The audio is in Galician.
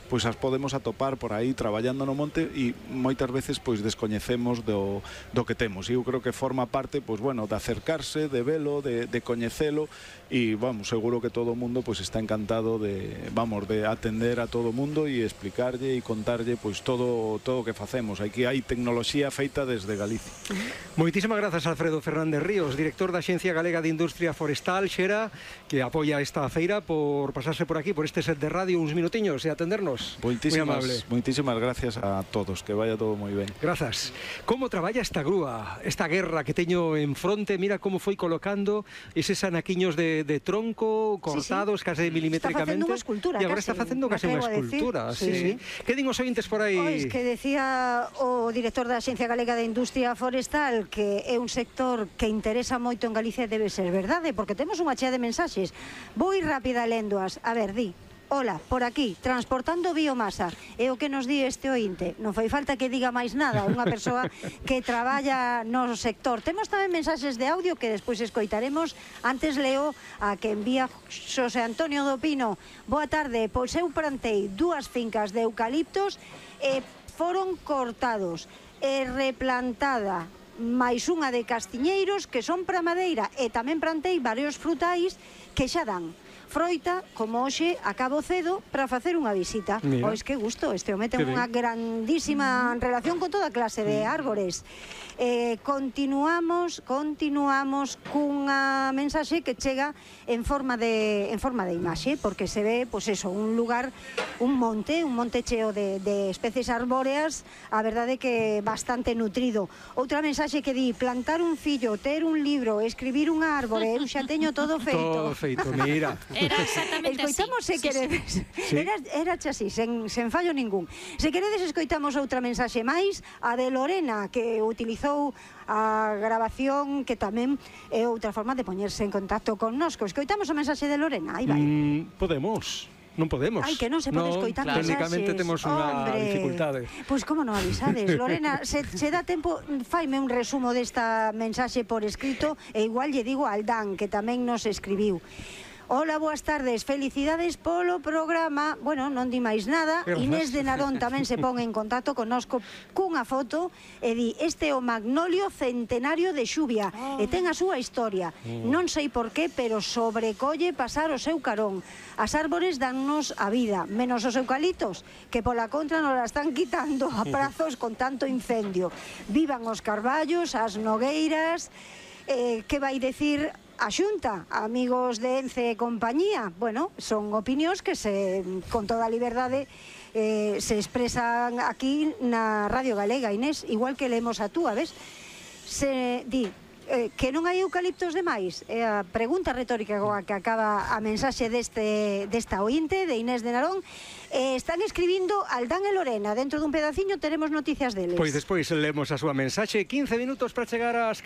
pois as podemos atopar por aí traballando no monte e moitas veces pois descoñecemos do que temos, e eu creo que forma parte pois bueno, de acercarse, de velo, de coñecelo, e vamos, seguro que todo o mundo pois está encantado de atender a todo o mundo e explicarlle e contarlle pois todo o que facemos. Aquí hai tecnoloxía feita desde Galicia. Moitísimas grazas, Alfredo Fernández Ríos, director da Axencia Galega de Industria Forestal, Xera, que apoia esta feira, por pasarse por aquí, por este set de radio, uns minutiños e atendernos. Moitísimas gracias a todos, que vaya todo moi ben. Grazas. Como traballa esta grúa, esta guerra que teño en fronte? Mira como foi colocando eses anaquiños de tronco cortados case milimétricamente. Está facendo unha escultura, e agora está facendo case unha escultura. Sí. Que din os ointes por aí? Pois que decía o director da Axencia Galega de Industria Forestal que é un sector que interesa moito en Galicia, debe ser verdade, porque temos unha chea de mensaxes. Vou ir rápida lendoas. A ver, di: hola, por aquí, transportando biomasa. É o que nos di este ointe. Non fai falta que diga máis nada unha persoa que traballa no sector. Temos tamén mensaxes de audio que despois escoitaremos. Antes leo a que envía Xosé Antonio do Pino. Boa tarde, pois eu plantei 2 fincas de eucaliptos e foron cortados e replantada máis unha de castiñeiros que son para madeira, e tamén plantei varios frutais que xa dan froita, como hoxe acabo cedo para facer unha visita. Pois que gusto, este home ten unha grandísima relación con toda clase de árbores. Continuamos cunha mensaxe que chega en forma de imaxe, porque se ve, pois eso, un lugar, un monte cheo de especies arbóreas, a verdade que bastante nutrido. Outra mensaxe que di: plantar un fillo, ter un libro, escribir un árbore, eu xa teño todo feito. Todo feito, mira. Era exactamente así. Escoitamos, se queredes. Era así, sen fallo ningún. Se queredes, escoitamos outra mensaxe máis, a de Lorena, que utilizou a grabación, que tamén é outra forma de poñerse en contacto connosco. Escoitamos a mensaxe de Lorena, aí vai. Podemos. Non podemos. Ai, que non se pode escoitar mensaxes. Técnicamente temos unha dificultade. Pois como non avisades, Lorena, se dá tempo, faime un resumo desta mensaxe por escrito, e igual lle digo al Dan, que tamén nos escribiu. Hola, boas tardes, felicidades polo programa. Bueno, non di máis nada. Inés de Narón tamén se pon en contacto connosco cunha foto e di: este é o magnolio centenario de Xuvia e ten a súa historia. Non sei por qué, pero sobrecolle pasar o seu carón. As árbores dannos a vida, menos os eucaliptos, que pola contra nos la están quitando a prazos con tanto incendio. Vivan os carballos, as nogueiras. Que vai decir a Xunta, amigos de Ence e compañía? Bueno, son opinións que con toda a liberdade se expresan aquí na Radio Galega, Inés, igual que leemos a túa, ves? Se di que non hai eucaliptos demais? É a pregunta retórica que acaba a mensaxe desta ointe, de Inés de Narón. Están escribindo Aldán e Lorena. Dentro dun pedaciño teremos noticias deles. Pois despois leemos a súa mensaxe. 15 minutos para chegar ás